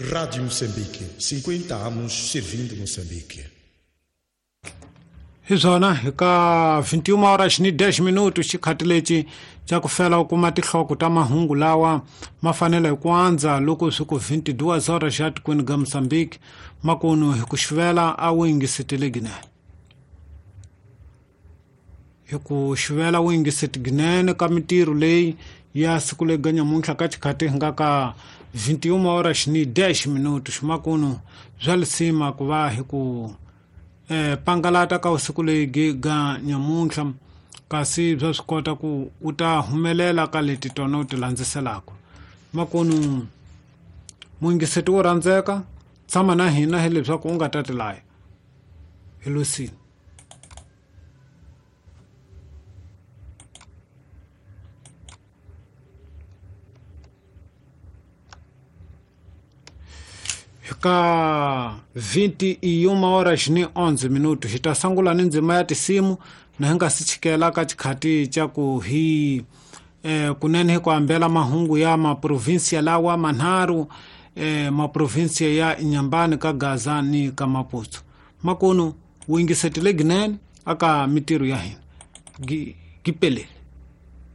Rádio Moçambique, 50 anos servindo Moçambique. Hi swona hi ka 21 horas ni 10 minutos xikhathi lexi xa ku fela u kuma tinhloko ta mahungu lawa ma fanele hi ku andza loko swi ku 22 horas xa tikweni ga Mozambique makunu hi ku xivela a wu yingisetele ginene hi ku xivela wu yingiseti ginene ka mintirho leyi ya siku lega nyamuntlha ka xikhathi hi nga ka 21 horas ni 10 minutos makunu bya lisima ku va hi ku pangalata ka usiku leyi ga nyamuntlha kasi bya swi kota ku u ta humelela ka leti tona u ti landziselaka makunu muyingiseti wo rhandzeka tshama na hina hileswaku u nga ta tilaya hi losini. Ka 21 horas ni 11 minutos hi ta sungula ni ndzima ya tinsimu na hi nga si chikela ka xikhati xa ku hi kunene hi ku ambela mahungu ya maprovinsia lawa manharhu maprovinsia ya Inhambane ka Gaza ni ka Maputo. Makunu wu yingisetile ginene aka mintirho ya hina gipelele.